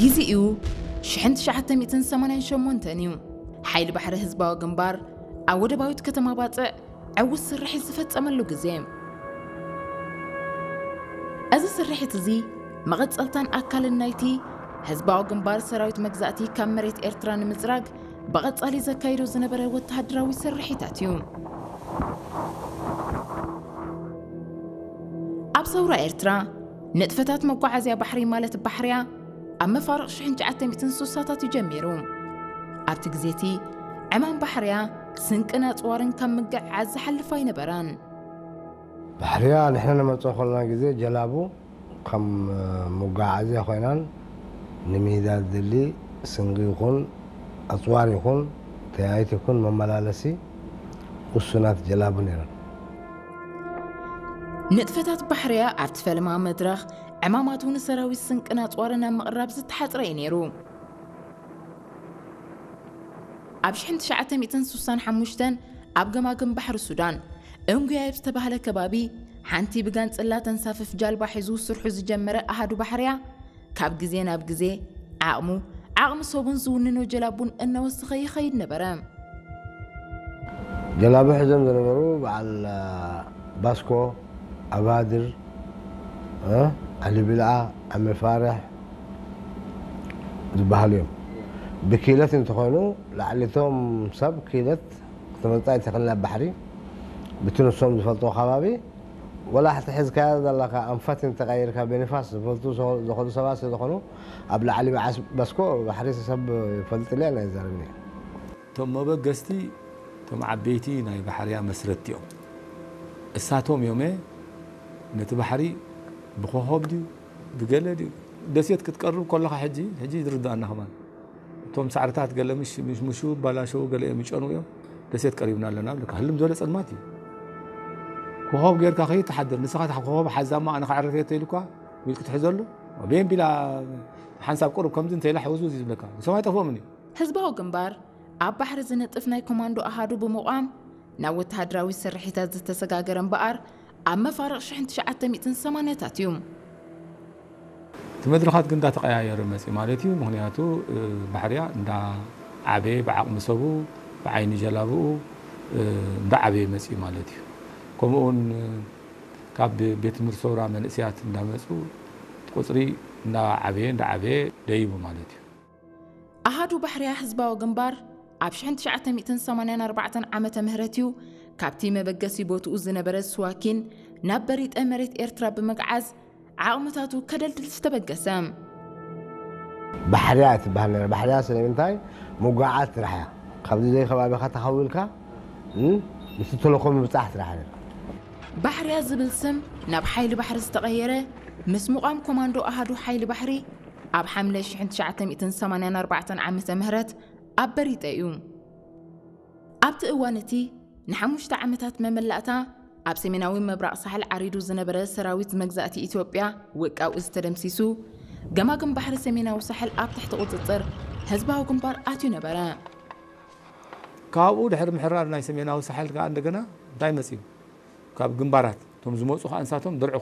ግዜኡ ሽሕን ትሽዓተ ሚእትን ሰማንያን ሸሞንተን እዩ። ሓይሊ ባሕሪ ህዝባዊ ግንባር ኣብ ወደባዊት ከተማ ባጽዕ ዕዉት ስርሒት ዝፈጸመሉ ግዜ። እዚ ስርሒት እዚ መቐጸልታን ኣካልን ናይቲ ህዝባዊ ግንባር ሰራዊት መግዛእቲ ካብ መሬት ኤርትራ ንምጽራግ ብቐጻሊ ዘካይዶ ዝነበረ ወተሃደራዊ ስርሒታት እዩ። ኣብ ሰውራ ኤርትራ ንጥፈታት መጓዓዝያ ባሕሪ ማለት ባሕርያ ኣብ መፋርቕ ሽሕን ትሽዓተ ሚእትን ስሳታት እዩ ጀሚሩ። ኣብቲ ግዜ እቲ ዕማም ባሕርያ ስንቅን ኣጽዋርን ካብ ምግዕዓዝ ዝሓልፍ ኣይነበረን። ባሕርያ ንሕና ንመጽኦ ከለና ግዜ ጀላቡ ከም መጓዓዝያ ኮይናን ንሜዳ ዝድሊ ስንቂ ይኹን ኣጽዋር ይኹን ተያይት ይኹን መመላለሲ ውሱናት ጀላቡ ነይረን። ንጥፈታት ባሕርያ ኣብቲ ፈለማ መድረኽ ዕማማቱ ንሰራዊት ስንቅን ኣጽዋርን ኣብ ምቕራብ ዝተሓጽረ እዩ ነይሩ። ኣብ ሽሕን ትሽዓተ ሚእትን ስሳን ሓሙሽተን ኣብ ገማግም ባሕሪ ሱዳን እንጉያይ ኣብ ዝተባህለ ከባቢ ሓንቲ ብጋንጽላ ተንሳፍፍ ጃልባ ሒዙ ስርሑ ዝጀመረ ኣሃዱ ባሕርያ ካብ ግዜ ናብ ግዜ ዓቕሙ ዓቕሚ ሰቡን ዝውንኖ ጀላቡን እናወሰኸ ይኸይድ ነበረ። ጀላቡ ሒዞም ዝነበሩ በዓል ባስኮ፣ ኣባድር፣ ዓሊ ብልዓ፣ ዓሚ ፋርሕ ዝበሃሉ እዮም። ብኪለት እንተኾይኑ ላዕሊቶም ሰብ ኪለት ክትመጻ ይትኽእል ናብ ባሕሪ ብቲ ንሶም ዝፈልጦ ከባቢ ወላ ሕቲ ሒዝካያ ዘለካ ኣንፈት እንተቐይርካ ብንፋስ ዝፈልጡ ዝኸዱ ሰባት ስለዝኾኑ ኣብ ላዕሊ በዓስ በስኮ ባሕሪ ሰብ ይፈልጥልያ ናይ ዘረብኒ። እቶም መበገስቲ እቶም ዓበይቲ ናይ ባሕርያ መስረትቲ እዮም። እሳቶም እዮመ ነቲ ባሕሪ ብኮኾብ ድዩ ብገለ ድዩ ደሴት ክትቀርብ ከለኻ ሕጂ ሕጂ ዝርዳእና ከማን እቶም ሳዕርታት ገለ ምሽ ምሽምሹ ባላሸው ገለ እዮም ይጨኑ እዮም። ደሴት ቀሪብና ኣለና ብለካ ህልም ዝበለ ጸልማት እዩ። ኮኾብ ጌርካ ከይትሓድር ንስኻ እታ ኮኾብ ሓዛማ ኣነ ክዕርፍ እየ ተይሉካ ኢልክ ትሕዘሉ ቤምቢላ ሓንሳብ ቁሩብ ከምዚ እንተኢላ ሕውዝውዝ እዩ ዝብለካ ንሶም ኣይጠፍኦምን እዩ። ህዝባዊ ግንባር ኣብ ባሕሪ ዝነጥፍ ናይ ኮማንዶ ኣሃዱ ብምቋም ናብ ወተሃደራዊ ስርሒታት ዝተሰጋገረ እምበኣር ኣብ መፋርቕ ሽሕን ትሽዓተ ሚእትን ሰማንያታት እዩ። እቲ መድረኻት ግን እንዳተቐያየረ መፅእ ማለት እዩ። ምክንያቱ ባሕርያ እንዳዓበየ ብዓቕሚ ሰቡ ብዓይኒ ጀላብኡ እንዳዓበየ መፅእ ማለት እዩ። ከምኡ እውን ካብ ቤት ትምህርቲ ሰውራ መንእሰያት እንዳመፁ ቁፅሪ እንዳዓበየ እንዳዓበየ ደይቡ ማለት እዩ። ኣሃዱ ባሕርያ ህዝባዊ ግንባር ኣብ ሽሕን ትሽዓተ ሚእትን ሰማንያን ኣርባዕተን ዓመተ ምህረት እዩ ካብቲ መበገሲ ቦትኡ ዝነበረ ስዋኪን ናብ በሪጠ መሬት ኤርትራ ብምግዓዝ ዓቕምታቱ ከደልድል ዝተበገሰ። ባሕርያ ትበሃል ነራ። ባሕርያ ስለምንታይ ምጓዓዝ ስራሕ እያ። ካብዚ ዘይ ከባቢኻ ተኸዊልካ ምስ ተልእኾ ምብጻሕ ስራሕ ነራ። ባሕርያ ዝብል ስም ናብ ሓይሊ ባሕሪ ዝተቐየረ ምስ ምቋም ኮማንዶ ኣሃዱ ሓይሊ ባሕሪ ኣብ ሓምለ ሽሕን ትሽዓተ ሚእትን ሰማንያን ኣርባዕተን ዓመተ ምህረት ኣብ በሪጠ እዩ። ኣብቲ እዋን እቲ ንሓሙሽተ ዓመታት መመላእታ ኣብ ሰሜናዊ ምብራቕ ሳሕል ዓሪዱ ዝነበረ ሰራዊት መግዛእቲ ኢትዮጵያ ውቃው እዚ ተደምሲሱ፣ ገማግም ባሕሪ ሰሜናዊ ሳሕል ኣብ ትሕቲ ቁጽጽር ህዝባዊ ግንባር ኣትዩ ነበረ። ካብኡ ድሕሪ ምሕራር ናይ ሰሜናዊ ሳሕል ከኣ እንደገና እንታይ መጽዩ? ካብ ግንባራት እቶም ዝመጹ ከኣ ንሳቶም ድርዒ